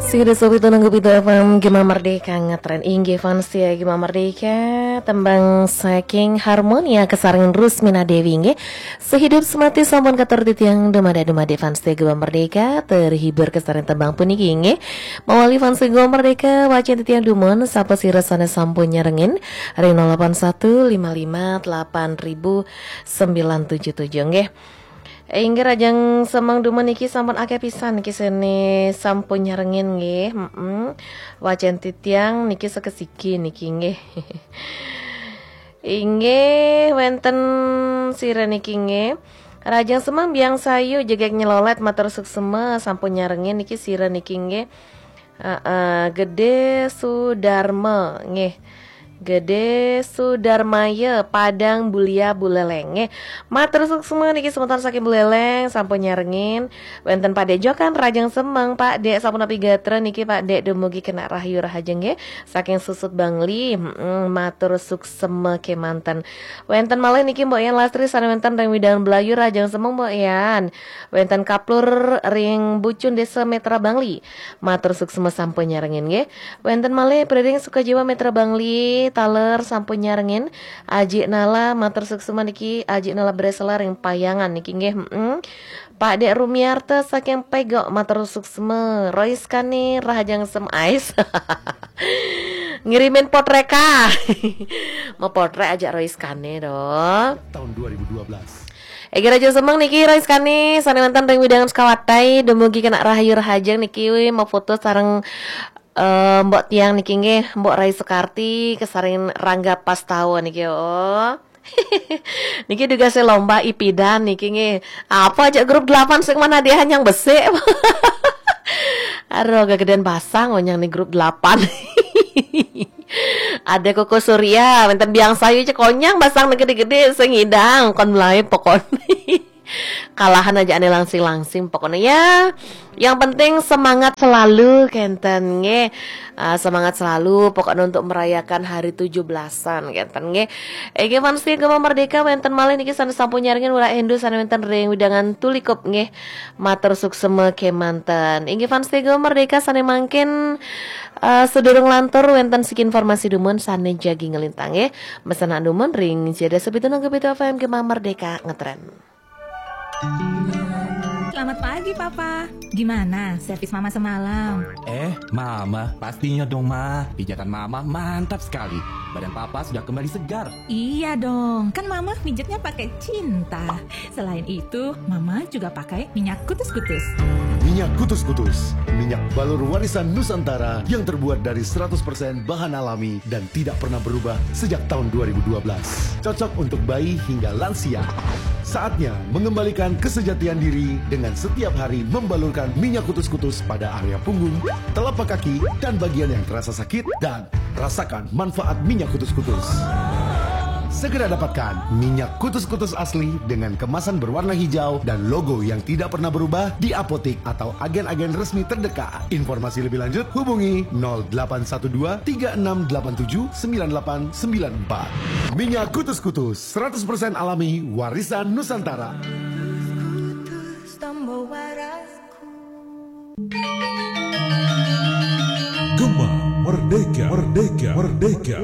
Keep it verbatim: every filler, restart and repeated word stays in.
Sing ada sopi tunung kopi F M Gema Merdeka ngetren inggih fans ya Gema Merdeka. Tembang saking Harmonia kesarengan Rusmina Dewi inggih. Sehidup semati sampun katur titiang dumade-dumade fans ya Gema Merdeka. Terhibur kesarengan tembang puniki inggih. Mawali fans Gema Merdeka wacen titiang dumun sapa sira sane sampun nyarengin ring nol delapan satu lima lima delapan ribu sembilan tujuh tujuh nggih. Inggih rajang semeng dumun niki sampun akeh pisan niki sene sampun nyarengin nggih. Heeh. Wacen titiang niki sekesiki niki nggih. Inggih wenten sira niki nggih. Rajang semeng biang sayu jegek nyelolet matur suksema sampun nyarengin niki sira niki nggih. Heeh, Gede Sudarma nggih. Gede Sudarmaya Padang Bulia Buleleng nggih. Matur suksma niki semeton saking Buleleng sampun nyarengin. Wenten Pak Dek Jokan rajang semeng Pak Dek sampun api gatra niki Pak Dek dumugi kena rahayu rahajeng nggih. Saking Susut Bangli, mm, matur suksma kemanten. Wenten malih niki Mbok Yan Lastri sane wenten ring Widang Belayu rajang semeng Mbok Yan. Wenten Kaplur ring Bucun Desa Metra Bangli. Matur suksma sampun nyarengin nggih. Wenten malih Preding Sukajiwa Metra Bangli taler sampun nyarengin. Ajik Nala matur suksma niki Ajik Nala Bresela ring Payangan niki nggih. Heeh. Pak Dek Rumiarta saking Pegok matur suksma. Rois Kane rahajeng sem ais. Ngirimin potrek ah. Mau potrek ajak Rois Kane dong. Tahun dua ribu dua belas. Egi Raja Semeng niki Rois Kane sane wenten ring Widangan Sekawatai dumugi kena rahayu rahajeng niki wi mau foto sareng eh, Mbok Tiang niki nggih Mbok Rai Sekarti kesaring Rangga Pastawa niki oh. Niki dugasé lomba ipidan niki nggih. Apa aja grup delapan sing mana dia hanyang besik. Aduh, gegedean basang onyang nih grup delapan. Ada Koko Surya, wenten Biang Sayu cek onyang basang nih gede-gede sing ngidang kon mulai pokoknya. Kalahan aja ane langsing-langsing pokoknya ya. Yang penting semangat selalu kenten nggih. Ah, semangat selalu pokoknya untuk merayakan hari tujuh belasan kenten nggih. Inggih fans Gema Merdeka wenten malih niki sane sampun nyarengin Wira Endu sane wenten ring widangan Tulikup nggih. Matur suksema kemanten. Inggih fans Gema Merdeka sane mangkin eh, sedurung lantur wenten siki informasi dumun sane jagi ngelintang nggih. Mesenan dumun ring Jada Sepitu Nangke Pitu F M Gema Merdeka ngetren. Selamat pagi, Papa. Gimana servis Mama semalam? Eh, Mama, pastinya dong, Ma. Pijatan Mama mantap sekali. Badan Papa sudah kembali segar. Iya dong, kan Mama mijitnya pakai cinta. Selain itu, Mama juga pakai minyak kutus-kutus. Minyak kutus-kutus, minyak balur warisan Nusantara yang terbuat dari seratus persen bahan alami dan tidak pernah berubah sejak tahun dua ribu dua belas. Cocok untuk bayi hingga lansia. Saatnya mengembalikan kesejatian diri dengan setiap hari membalurkan minyak kutus-kutus pada area punggung, telapak kaki, dan bagian yang terasa sakit dan rasakan manfaat minyak kutus-kutus. Segera dapatkan minyak kutus-kutus asli dengan kemasan berwarna hijau dan logo yang tidak pernah berubah di apotik atau agen-agen resmi terdekat. Informasi lebih lanjut hubungi nol delapan satu dua tiga enam delapan tujuh sembilan delapan sembilan empat. Minyak kutus-kutus seratus persen alami warisan Nusantara. Gema Merdeka, Merdeka, Merdeka.